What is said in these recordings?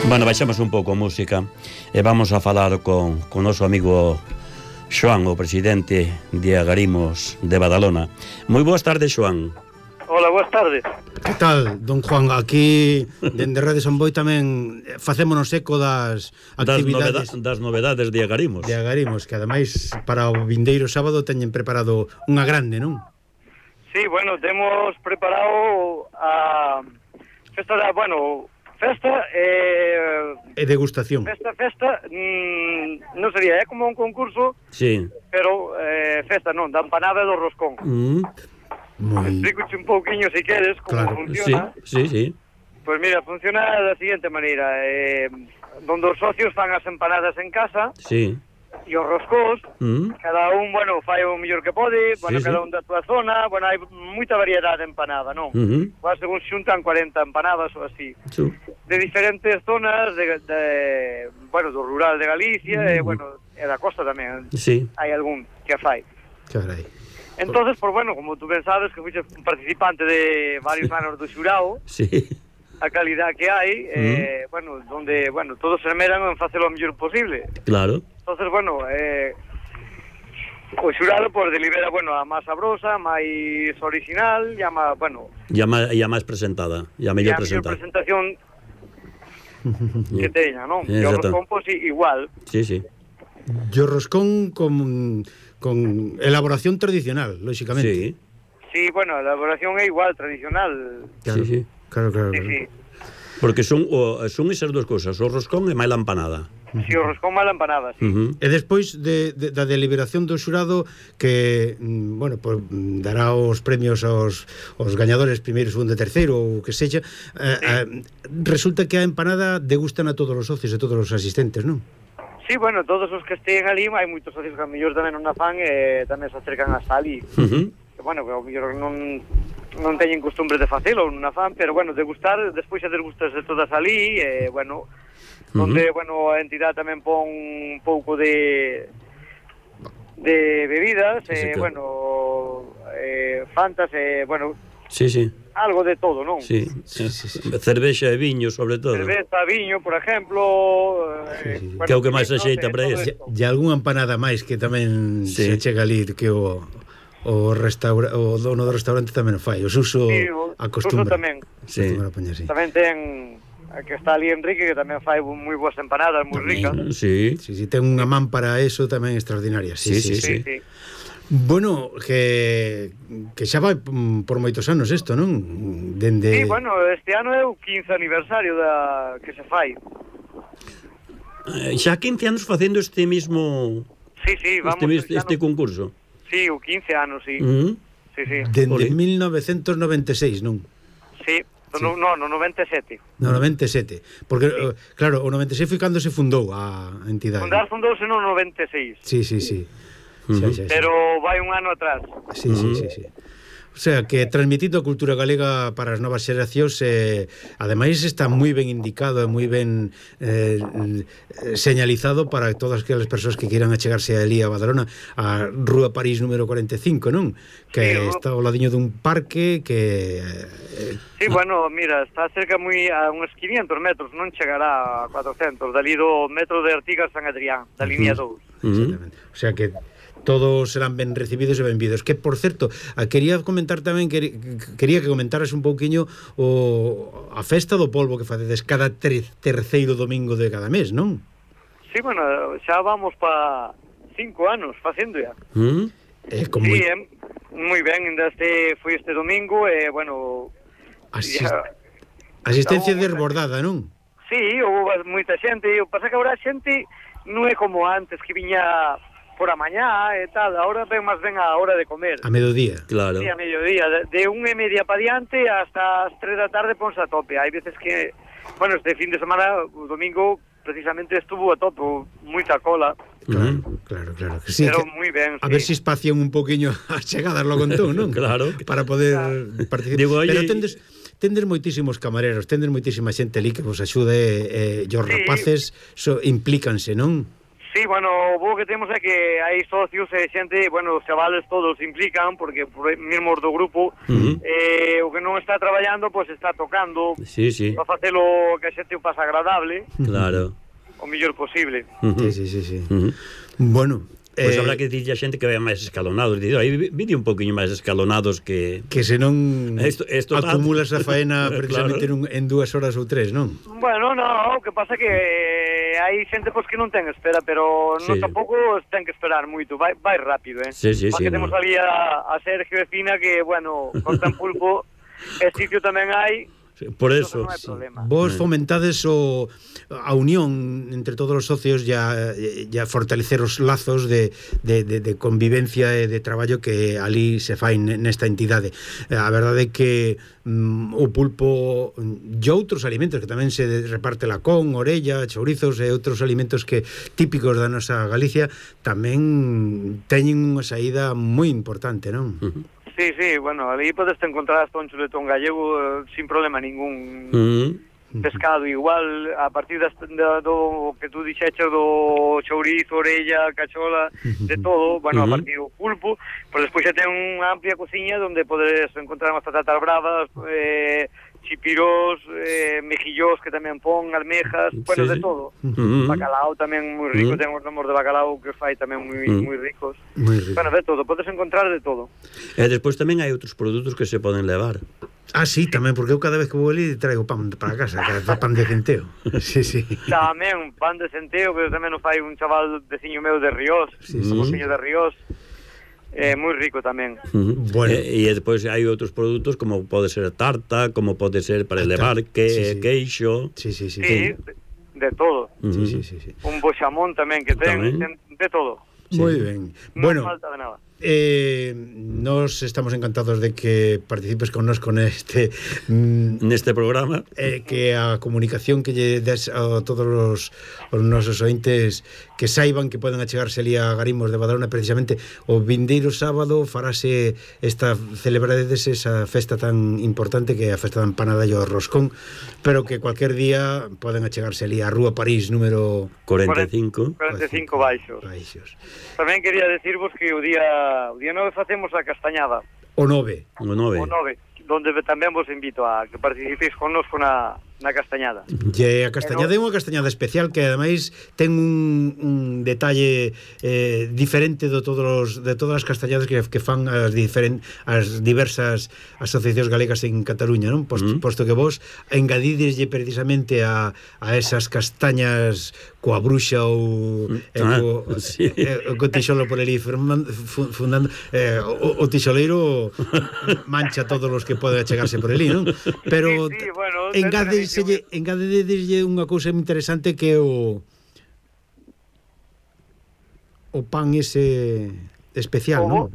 Bueno, baixamos un pouco a música e vamos a falar con o noso amigo Xoán, o presidente de Agarimos de Badalona. Moi boas tardes, Xoán. Hola, boas tardes. Que tal, don Juan? Aquí, dende Rede Son Boi tamén facémonos eco das actividades das novedades de Agarimos. De Agarimos, que ademais para o vindeiro sábado teñen preparado unha grande, non? Sí, bueno, temos preparado a festa da, festa E degustación. Festa, non sería, é como un concurso, sí. Pero festa non, da empanada e do roscón. Explicoche un pouquiño, se queres, como funciona. Sí. Pois mira, funciona da seguinte maneira, donde os socios fan as empanadas en casa, sí. E os roscós, cada un, fai o mellor que pode, cada un da túa zona, hai moita variedade de empanada, non? Según xuntan 40 empanadas ou así. De diferentes zonas, do rural de Galicia, e da costa tamén. Sí. Hai algún que a fai. Carai. Entonces, como tú ben sabes, que fuiste un participante de varios anos do xurao, sí. A calidad que hai, donde, todos se esmeran en facelo o mellor posible. Claro. Entonces, o xurado delibera, a máis sabrosa, máis original, e a máis presentada, e a mellor presentada. E a presentación que teña, non? E o roscón, igual. Sí. E o roscón con elaboración tradicional, lóxicamente. Sí, a elaboración é igual, tradicional. Sí. Claro. Sí. Porque son esas dúas cousas, o roscón e máis a empanada. Si, o roscón máis a empanada, sí. E despois da deliberación do xurado que, dará os premios aos gañadores primeiro, segundo e terceiro, ou que sexa, resulta que a empanada degustan a todos os socios e todos os asistentes, non? Sí, todos os que estén ali, hai moitos socios que a mellor tamén non a fan e tamén se acercan hasta ali. Que o mellor non teñen costumbre de facelo, non a fan, pero degustar, despois a degustas de todas ali, onde, a entidade tamén pon un pouco de bebidas, fantas, sí. Algo de todo, non? Sí. Cervexa e viño, sobre todo. Cervexa, viño, por exemplo, que é o que máis se axeita para eso. E algunha empanada máis que tamén se chega ali, que o dono do restaurante tamén o fai, o Suso acostumbra. Sí, tamén ten que está ali Enrique, que tamén fai moi boas empanadas, moi ricas. Sí, ten unha man para eso tamén extraordinaria. Sí. Bueno, que xa vai por moitos anos isto, non? Sí, este ano é o 15 aniversario que se fai. Xa 15 anos facendo este mismo... Sí, vamos... Este concurso. Sí, o 15 anos, sí. Sí. Dende 1996, non? Sí, no 97. No 97, porque, claro, o 96 foi cando se fundou a entidade. Fundouse no 96. Sí. Pero vai un ano atrás. Sí. O sea, que transmitindo a cultura galega para as novas xeracións, ademais está moi ben indicado e moi ben señalizado para todas aquelas persoas que queiran achegarse ali a Badalona, a Rúa París número 45, non? Que está ao ladiño dun parque que... Sí, mira, está cerca a uns 500 metros, non chegará a 400, dali do metro de Artigas San Adrián, da línea 2. Exactamente. O sea que todos serán ben recibidos e benvidos. Que, por certo, quería comentar tamén, quería que comentaras un pouquiño a festa do polvo que facedes cada terceiro domingo de cada mes, non? Sí, xa vamos pa 5 anos facendo ya. Sí, moi ben, foi este domingo, asistencia desbordada, non? Sí, houve moita xente, o pasa que agora a xente non é como antes que viña por a mañá e tal, ahora ven máis ben a hora de comer. A mediodía. Claro. Sí, a mediodía, de 1:30 para diante hasta as 3 da tarde ponse a tope. Hai veces que, bueno, este fin de semana, o domingo, precisamente estuvo a tope, moita cola. Claro. Que sí, pero que, moi ben, a ver se espacian un poquinho as chegadas logo entón, non? Claro. Para poder participar. Digo, pero tendes moitísimos camareros, tendes moitísima xente ali que vos axude, os rapaces implícanse, non? Sí, bueno, o bo que temos é que hai socios e xente, bueno, os chavales todos se implican, porque mesmo os do grupo, o que non está traballando, pois está tocando, sí. para facelo que a xente o pasa agradable, claro, o mellor posible. Sí. Bueno, pois habrá que dicirlle a xente que vaya máis escalonados. Aí vídeo un poquinho máis escalonados que senón acumulas a faena precisamente claro. en 2 horas ou 3, non? Bueno, o que pasa que hai xente pois que non ten espera, pero non tampouco ten que esperar moito, vai rápido, Sí, porque temos ali a Sergio e Fina que, bueno, cortan pulpo, e sitio tamén hai. Por eso, vos fomentades a unión entre todos os socios, ya fortalecer os lazos de convivencia e de traballo que ali se fai nesta entidade. A verdade é que o pulpo e outros alimentos que tamén se reparte lacón, orella, chourizos e outros alimentos que típicos da nosa Galicia tamén teñen unha saída moi importante, non? Sí, bueno, ali podes encontrar hasta un chuletón gallego sin problema ningún. Pescado igual, a partir do que tú dixeches do chourizo, orella, cachola, de todo, bueno, a partir do pulpo, pero despois xa ten unha amplia cociña onde podes encontrar unhas patatas bravas, chipirós, mejillós que tamén pon, almejas, bueno, de todo. Bacalao tamén moi rico, ten os nomos de bacalao que fai tamén moi ricos. Bueno, de todo, podes encontrar de todo. E despois tamén hai outros produtos que se poden levar. Sí, tamén, porque eu cada vez que vou ali traigo pan para casa, pan de centeo. Sí. Tamén, pan de centeo, que tamén o fai un chaval veciño meu de Ríos, veciño de Ríos. Moi rico tamén. Bueno. E despois hai outros produtos como pode ser tarta, como pode ser para elevar queixo. Sí. De todo. Sí. Un boxamón tamén que ten de todo. Moi ben. Bueno, non falta de nada. Nos estamos encantados de que participes connosco neste programa, que a comunicación que lle des a todos os nosos ointes que saiban que poden achegarse ali a Garimos de Badalona. Precisamente o vindeiro sábado farase celebradedes esa festa tan importante que é a festa da empanada e o roscón, pero que cualquier día poden achegarse ali a Rúa París número 45 baixos. Tamén quería decirvos que o día 9 facemos a castañada. O 9, donde tamén vos invito a que participéis connosco na castañada. E a castañada é unha castañada especial que ademais ten un detalle diferente de todas as castañadas que fan as diversas asociacións galegas en Cataluña, non? Posto que vos engadideslle precisamente a esas castañas coa bruxa ou co tixolo por ali fundando, o tixoleiro mancha todos os que poden achegarse por ali, non? Pero bueno, engadedeslle unha cousa interesante que o pan ese especial, non?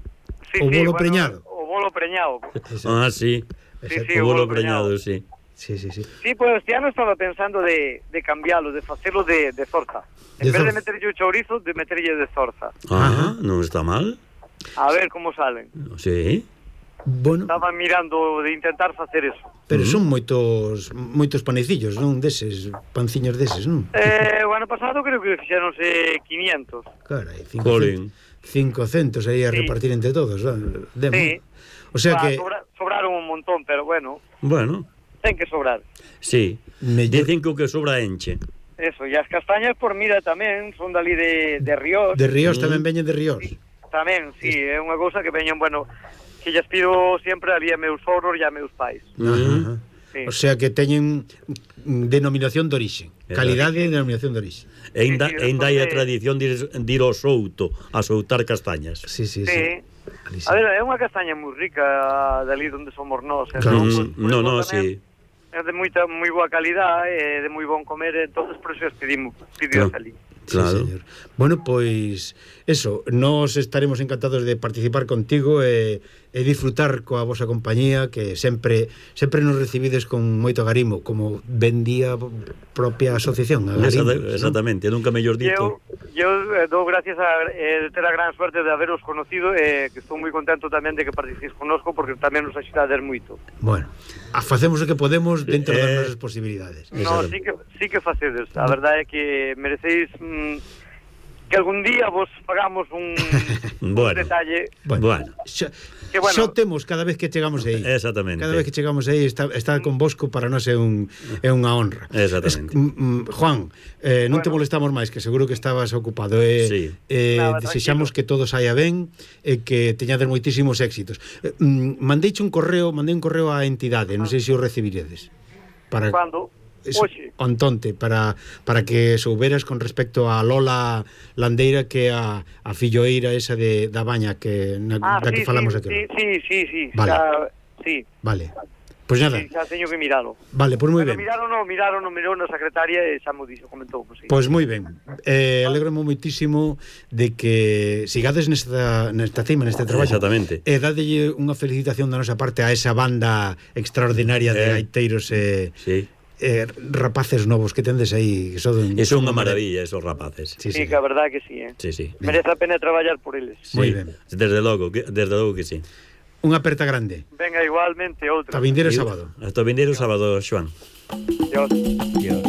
O bolo preñado. O bolo preñado. Sí. O bolo preñado, sí. Sí. Sí, pues este ano estaba pensando de cambiarlo, de facelo de zorza. En vez de meterlle o chourizo, de meterlle de zorza. Non está mal. A ver como salen. Sí. Bueno, estaba mirando de intentar facer eso. Pero son moitos panecillos, non? Deses, panciños deses, non? O ano pasado creo que fixeronse 500. Carai, 500 aí a repartir entre todos, ¿no? Sí. O sea que sobraron un montón, pero bueno. Ten que sobrar. Sí. Dicen que o que sobra enche. Eso, e as castañas por mira tamén son dali de Ríos. De Ríos tamén veñen de Ríos. Sí, tamén, sí, é unha cousa que veñen, bueno, que lles pido sempre ali a meus sogros e a meus pais. Sí. O sea que teñen denominación de orixe, calidade e denominación de orixe. E ainda hai a tradición de ir ao souto a soutar castañas. Sí. A ver, é unha castaña moi rica dali onde somos nós. Sí. É de moi boa calidade, é de moi bon comer, entonces por eso pedimos ali. Claro. Sí, señor. Bueno, pois eso, nós estaremos encantados de participar contigo e disfrutar coa vosa compañía, que sempre nos recibides con moito agarimo, como ben día propia asociación, Agarimo. Exactamente, nunca mellor dito. Eu dou gracias a ter a gran suerte de haberos conocido, que estou moi contento tamén de que participes connosco, porque tamén nos axudades moito. Bueno, facemos o que podemos dentro das nosas posibilidades. No, sí que facedes. A verdade é que mereceis que algún día vos pagamos un detalle. Bueno. Xo temos cada vez que chegamos aí. Exactamente. Cada vez que chegamos aí está convosco para nós é unha honra. Exactamente. Juan, non te molestamos máis, que seguro que estabas ocupado. Sí. Desexamos que todo saia ben e que teñades moitísimos éxitos. Mandei un correo á entidade, non sei se o recibiredes. Cando? Oxe. Ontonte, para que souberas con respecto a Lola Landeira, que é a filloeira esa da Baña da que falamos aquí. Sí. Vale. Sí. Vale. Pois nada. Sí, xa teño que miralo. Vale, pois moi ben. Mirou na secretaria e xa mo dixo, comentou. Pois moi ben. Alegro-me moitísimo de que sigades nesta cima, neste traballo. Exactamente. E dadelle unha felicitación da nosa parte a esa banda extraordinaria de gaiteiros rapaces novos que tendes aí, que son unha maravilla esos rapaces. Sí, que a verdade que sí, Sí. Merece a pena traballar por eles. Moi ben. Desde logo que sí. Unha aperta grande. Venga, igualmente outra. Hasta vindeiro sábado. Hasta vindeiro sábado, Xoan. Dios.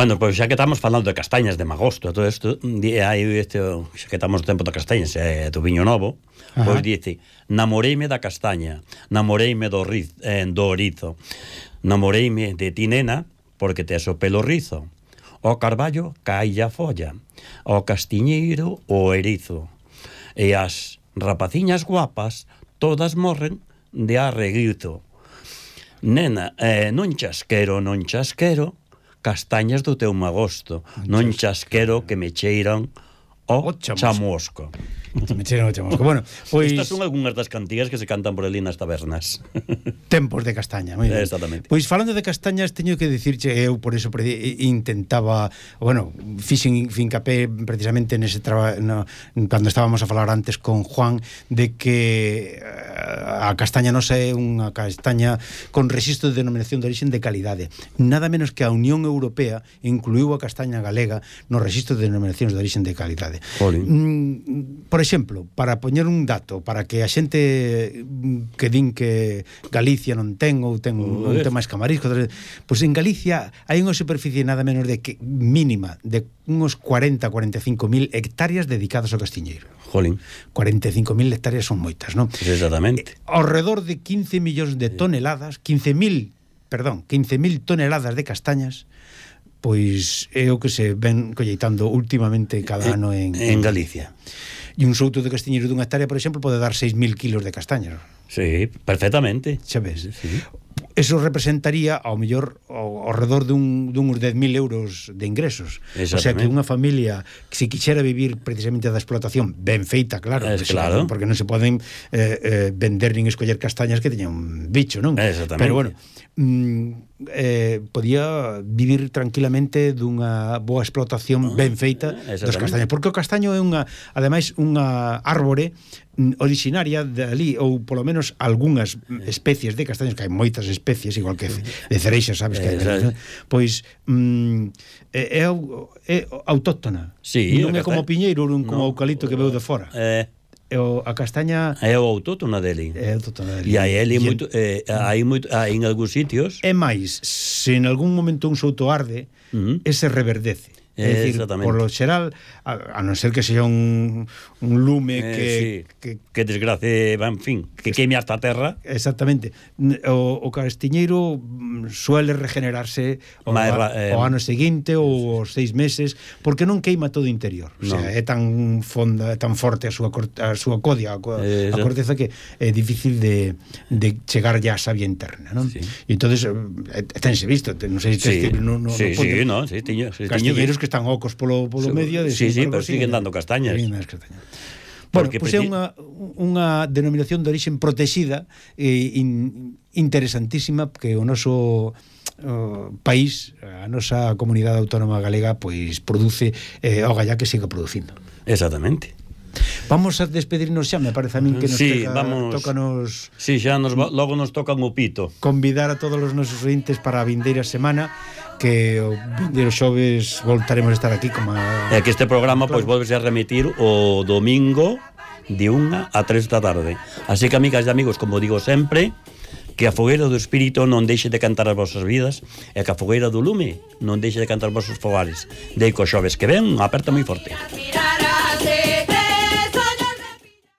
Bueno, pois xa que estamos falando de castañas, de magosto, todo isto, xa que estamos no tempo de castañas, do viño novo, pois dice, namoreime da castaña, namoreime do orizo, namoreime de ti, nena, porque tes o pelo rizo, o carballo caille a folla, o castiñeiro o erizo, e as rapaciñas guapas todas morren de arreguito. Nena, non chasquero, castañas do teu magosto, non chasquero que me cheiran o chamusco. Me cheiran o chamusco. Bueno, pois estas son algunhas das cantigas que se cantan por ali nas tabernas. Tempos de castaña, moi ben. Exactamente. Pois falando de castañas, teño que dicirche, eu por eso intentaba, bueno, fixen fincapé precisamente nese cando estábamos a falar antes con Juan, de que a castaña nosa é unha castaña con rexistro de denominación de origen de calidade. Nada menos que a Unión Europea incluiu a castaña galega no rexistro de denominacións de origen de calidade. Por exemplo, para poñer un dato, para que a xente que din que Galicia non ten ou ten máis camariscos, pois en Galicia hai unha superficie nada menos de que mínima de uns 40-45.000 hectáreas dedicadas ao castiñeiro. Jolín. 45.000 hectáreas son moitas, non? Exactamente. Ao redor de 15 millóns de toneladas, 15.000 toneladas de castañas, pois é o que se ven colleitando últimamente cada ano en Galicia. E un souto de castiñeiro dunha hectárea, por exemplo, pode dar 6.000 kilos de castañas. Sí, perfectamente. Xa ves? Sí. Eso representaría ao mellor ao redor duns 10.000 euros de ingresos. O sea que unha familia que se quixera vivir precisamente da explotación ben feita, claro, claro. Porque non se poden vender nin escoller castañas que teñan un bicho, non? Exactamente. Pero bueno, podía vivir tranquilamente dunha boa explotación ben feita das castañas, porque o castaño é ademais unha árbore originaria de ali, ou polo menos algunhas especies de castaños, que hai moitas especies, igual que de cereixas, sabes que hai, pois é autóctona. Sí, non é como o piñeiro, non como o eucalipto que veu de fora. A castaña é o autóctona dele. É autóctona dele. E aí hai en algúns sitios. É máis, se en algún momento un souto arde, ese reverdece. É dicir, por lo xeral, a non ser que sea un lume que desgrace, en fin, que queime hasta a terra. Exactamente. O castiñeiro suele regenerarse o ano seguinte ou os 6 meses, porque non queima todo o interior. O sea, é tan fonda, é tan forte a súa codia, a corteza, que é difícil de chegar ya a savia interna, non? E entonces tense visto, non sei se castiñeiros que están ocos polo medio. Sí, pero siguen dando castañas. Bueno, pois é unha denominación de origen protexida interesantísima, que o noso país, a nosa comunidade autónoma galega, pois produce o gallá que siga producindo. Exactamente. Vamos a despedirnos xa, me parece a min que nos tócanos... Sí, xa logo nos tocan o pito. Convidar a todos os nosos ointes para a vindeira semana, que o vindeiro xoves voltaremos a estar aquí como que este programa pois volvese a remitir o domingo de 1 a 3 da tarde. Así que, amigas e amigos, como digo sempre, que a fogueira do espírito non deixe de cantar as vosas vidas, e que a fogueira do lume non deixe de cantar os vosos fogares. Dei co xoves que ven, aperta moi forte.